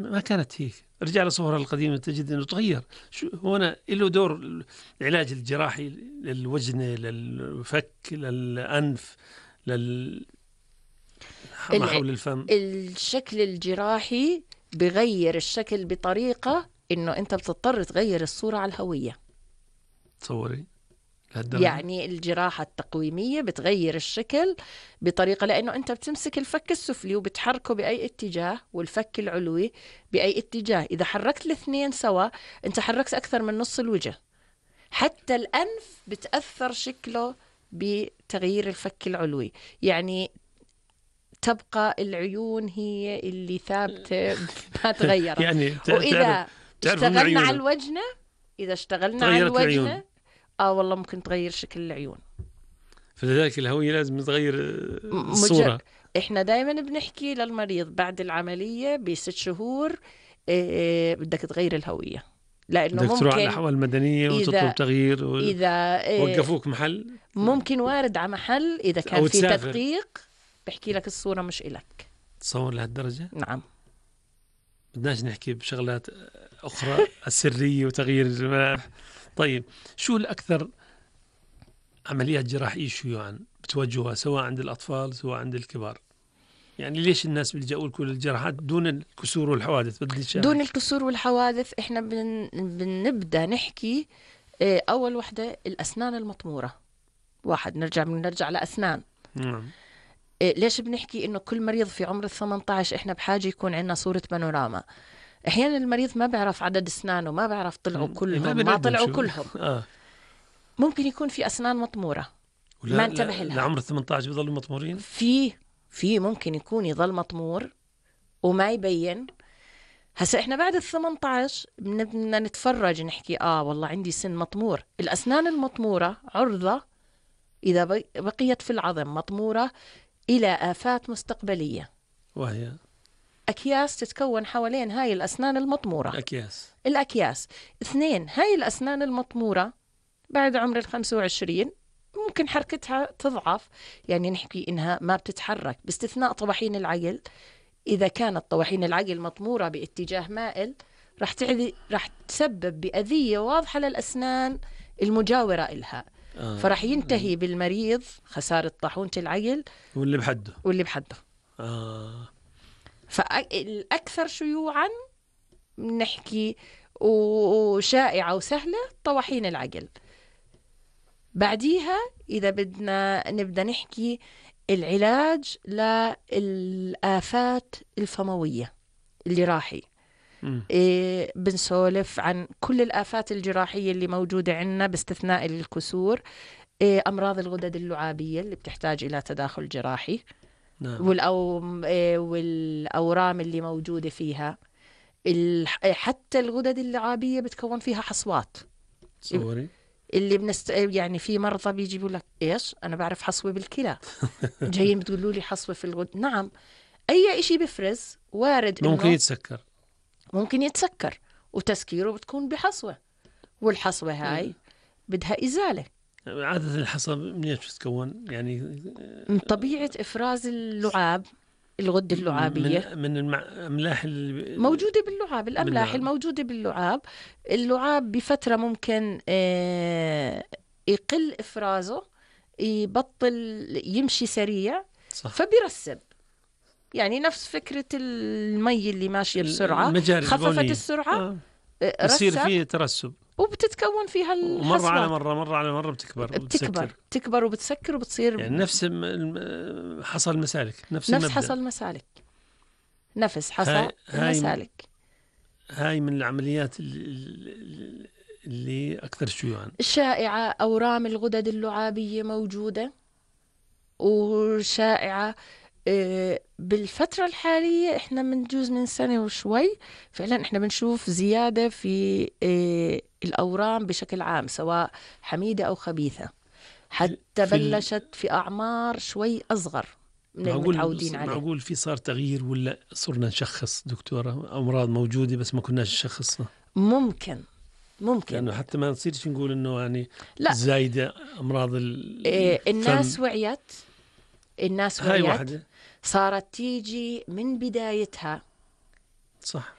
ما كانت هيك. رجع لصورها القديمة تجد أنه تغير. هنا له دور العلاج الجراحي للوجنة، للفك، للأنف، ما حول الفم. الشكل الجراحي بغير الشكل بطريقة إنه أنت بتضطر تغير الصورة على الهوية. تصوري يعني الجراحة التقويمية بتغير الشكل بطريقة، لأنه أنت بتمسك الفك السفلي وبتحركه بأي اتجاه، والفك العلوي بأي اتجاه. إذا حركت الاثنين سوا أنت حركت أكثر من نص الوجه. حتى الأنف بتأثر شكله بتغيير الفك العلوي. يعني تبقى العيون هي اللي ثابتة ما تغيرت. يعني وإذا اشتغلنا على الوجنة، والله ممكن تغير شكل العيون. فلذلك الهوية لازم تغير الصورة. احنا دائما بنحكي للمريض بعد العملية ب6 شهور بدك تغير الهوية، لأنه بدك ممكن تروح على الأحوال المدنية وتطلب تغيير إذا وقفوك محل، ممكن وارد على محل إذا كان في تدقيق بحكي لك الصورة مش إلك. تصور لهالدرجة؟ نعم. بدناش نحكي بشغلات أخرى السرية وتغيير الملامح. طيب شو الأكثر عمليات جراحية شيوعا بتوجهها سواء عند الأطفال سواء عند الكبار؟ يعني ليش الناس بيلجأوا لكل الجراحات دون الكسور والحوادث؟ دون الكسور والحوادث احنا بنبدأ نحكي أول وحدة الأسنان المطمورة. نرجع لأسنان. ليش بنحكي إنه كل مريض في عمر 18 إحنا بحاجة يكون عندنا صورة بانوراما؟ أحيانا المريض ما بيعرف عدد أسنانه، ما بيعرف طلعوا كلهم ما طلعوا كلهم. ممكن يكون في أسنان مطمورة ما انتبه لها. لعمر 18 بيضلوا مطمورين؟ في ممكن يكون يضل مطمور وما يبين. هسا إحنا بعد 18 بدنا نتفرج نحكي والله عندي سن مطمور. الأسنان المطمورة عرضة إذا بقيت في العظم مطمورة إلى آفات مستقبلية، وهي أكياس تتكون حوالين هاي الأسنان المطمورة. الأكياس 2. هاي الأسنان المطمورة بعد عمر 25 ممكن حركتها تضعف، يعني نحكي إنها ما بتتحرك باستثناء طواحين العقل. إذا كانت طواحين العقل مطمورة باتجاه مائل رح تسبب بأذية واضحة للأسنان المجاورة إلها. فرح ينتهي بالمريض خسارة طاحونة العقل واللي بحده. فالأكثر شيوعا نحكي وشائعة وسهلة طواحين العقل. بعديها إذا نبدأ نحكي العلاج للآفات الفموية الجراحي. بنسولف عن كل الآفات الجراحية اللي موجودة عندنا باستثناء الكسور. أمراض الغدد اللعابية اللي بتحتاج إلى تداخل جراحي. نعم. والأورام اللي موجودة فيها. حتى الغدد اللعابية بتكون فيها حصوات. صوري اللي يعني في مرضى بيجيبوا لك إيش أنا بعرف حصوة بالكلى جايين بتقولوا لي حصوة في الغدد. نعم، أي إشي بفرز وارد ممكن يتسكر وتسكيره بتكون بحصوة، والحصوة هاي بدها إزالة. عادة الحصوة منين بتتكون؟ يعني طبيعة إفراز اللعاب، الغدة اللعابية من الأملاح موجودة باللعاب. الأملاح الموجودة باللعاب. اللعاب بفترة ممكن يقل إفرازه، يبطل يمشي سريع. صح. فبيرسب، يعني نفس فكرة المي اللي ماشية بسرعة خففت السرعة يصير فيه ترسب وبتتكون فيها الحصوات. مرة على مرة بتكبر وبتسكر وبتصير يعني نفس حصل المسالك. نفس حصل المسالك. نفس حصل المسالك. هاي من العمليات اللي أكثر شيوعا. شائعة أورام الغدد اللعابية موجودة وشائعة. بالفترة الحالية احنا منجوز من سنة وشوي فعلا احنا بنشوف زيادة في الأورام بشكل عام سواء حميدة أو خبيثة، حتى بلشت في أعمار شوي أصغر من المتعودين عليه. معقول في صار تغيير ولا صرنا نشخص دكتورة أمراض موجودة بس ما كناش نشخصها؟ ممكن لأنه حتى ما نصيرش نقول إنه يعني زايدة أمراض الناس وعيت. هاي واحدة صارت تيجي من بدايتها. صح.